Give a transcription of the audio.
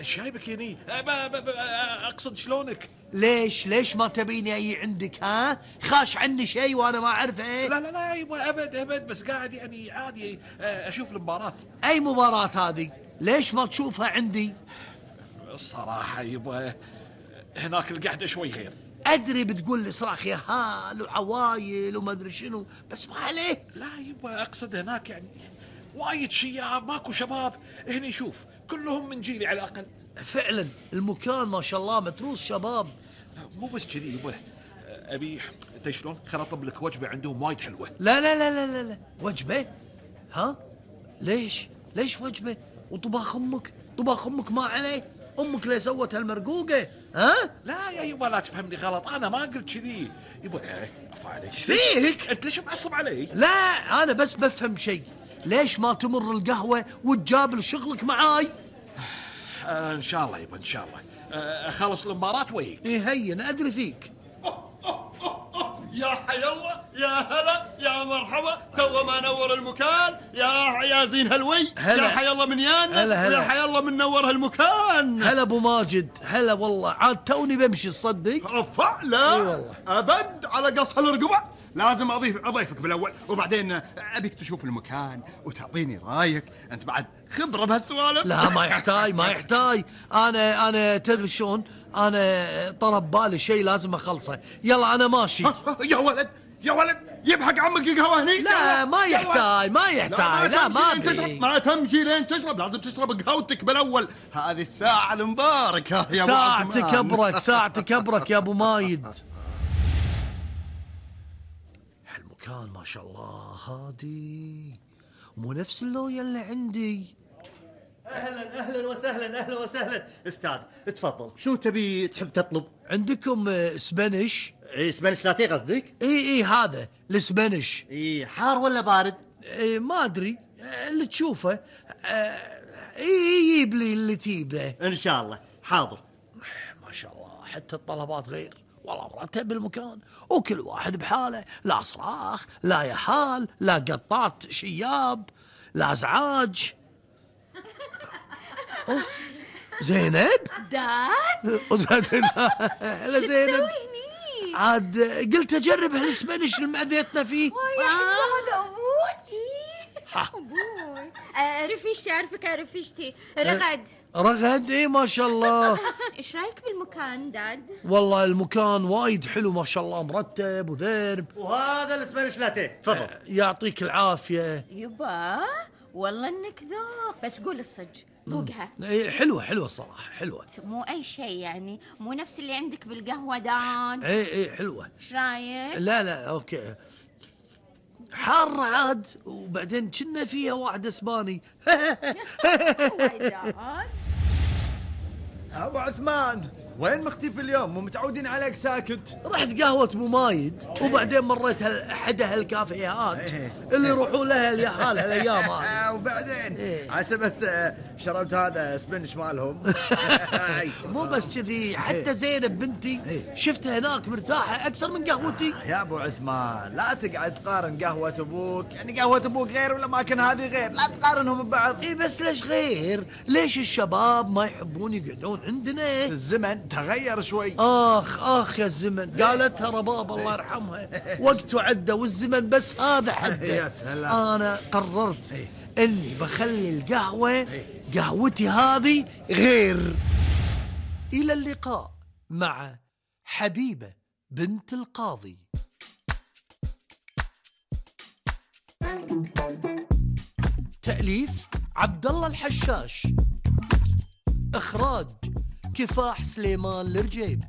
شايبك يني أقصد شلونك؟ ليش ما تبيني أي عندك؟ ها خاش عني شيء وأنا ما أعرفه؟ لا يبا أبد بس قاعد يعني عادي أشوف المباراة. أي مباراة هذه؟ ليش ما تشوفها عندي؟ الصراحة يبا هناك القعدة شوي غير. أدري بتقول لي صراخ يا هال وعوايل وما أدري شنو، بس ما عليه. لا يبا أقصد هناك يعني وايد شياب، ماكو شباب. هني شوف كلهم من جيلي على الأقل. فعلا المكان ما شاء الله متروس شباب. مو بس كذي يبا، أبي أنت شلون خل أطلب لك وجبة عندهم وايد حلوة. لا وجبة؟ ها ليش وجبة؟ وطباخ أمك ما عليه؟ أمك ليه سوت هالمرقوقة؟ ها؟ لا يا يبا لا تفهمني غلط، أنا ما قلت كذي يبا. عفا عليك. ايش فيك؟ أنت ليش معصب علي؟ لا أنا بس بفهم شيء، ليش ما تمر القهوة وتجابل شغلك معاي؟ إن شاء الله يبا إن شاء الله. أخلص المباراة وياك. هين أدري فيك. يا حي الله، يا هلا، يا مرحبا، تو ما نور المكان. يا زين هلوي، هلا. يا حي الله من يانا، هلا. يا حي الله من نور هالمكان. هلا أبو ماجد، هلا والله، عاد توني بمشي تصدق؟ رفع لا اي والله. أبد على قص هالرقبة، لازم أضيفك بالأول، وبعدين أبيك تشوف المكان وتعطيني رايك، أنت بعد خبرة بهالسوالف. لا ما يحتاج. أنا تدري شلون؟ أنا طلب بالي شيء لازم أخلصه، يلا أنا ماشي. يا ولد يبحق عمك قهوة هني. لا ما يحتاج لا ما أبي. ما تمشي لين تشرب، لازم تشرب قهوتك بالأول، هذه الساعة المباركة يا ساعتك أبرك يا أبو مايد. هالمكان ما شاء الله هادي، مو نفس اللوية اللي عندي. أهلا وسهلا أستاذ، تفضل. شو تحب تطلب؟ عندكم سبانيش؟ سبانيش لاتيه قصدك؟ اي هذا السبانيش. حار ولا بارد؟ ما ادري، اللي تشوفه. يجيب لي اللي تجيبه ان شاء الله. حاضر. ما شاء الله حتى الطلبات غير، والله مرتب المكان، وكل واحد بحاله، لا صراخ لا يحال لا قطات شياب لا ازعاج. اوف زينب داد هلا زينب. عاد قلت اجرب هالسبانيش اللي مأذيتنا فيه. هذا ابوي رفيشتي، اعرفك يا رفيشتي رغد. ايه ما شاء الله. ايش رايك بالمكان داد؟ والله المكان وايد حلو ما شاء الله، مرتب وذرب. وهذا السبانيش لاتيه تفضل. يعطيك العافية يبا والله انك ذوق، بس قول الصج ذوقها. حلوة صراحة، حلوة، مو اي شيء يعني، مو نفس اللي عندك بالقهوة داد. ايه حلوة. ايش رايك؟ لا اوكي، حار عاد، وبعدين كنا فيها واحد اسباني. ابو عثمان وين مختفي اليوم؟ مو متعودين عليك ساكت. رحت قهوة ابو مايد، وبعدين مريت احدى هالكافيهات اللي يروحوا لها اليحال هالايام هذه. وبعدين عسى بس شربت هذا سبنش مالهم. مو بس كذي، حتى زينب بنتي شفتها هناك مرتاحة أكثر من قهوتي. يا ابو عثمان لا تقعد تقارن قهوة ابوك، يعني قهوة ابوك غير والاماكن هذه غير، لا تقارنهم ببعض. بس ليش غير؟ ليش الشباب ما يحبون يقعدون عندنا؟ الزمن تغير شوي. آخ يا الزمن، قالتها رباب الله يرحمها، وقته عدى والزمن بس هذا حده. يا سلام. أنا قررت إني بخلي القهوة قهوتي هذه غير. إلى اللقاء مع حبيبة بنت القاضي. تأليف عبد الله الحشاش، إخراج كفاح سليمان الرجيب.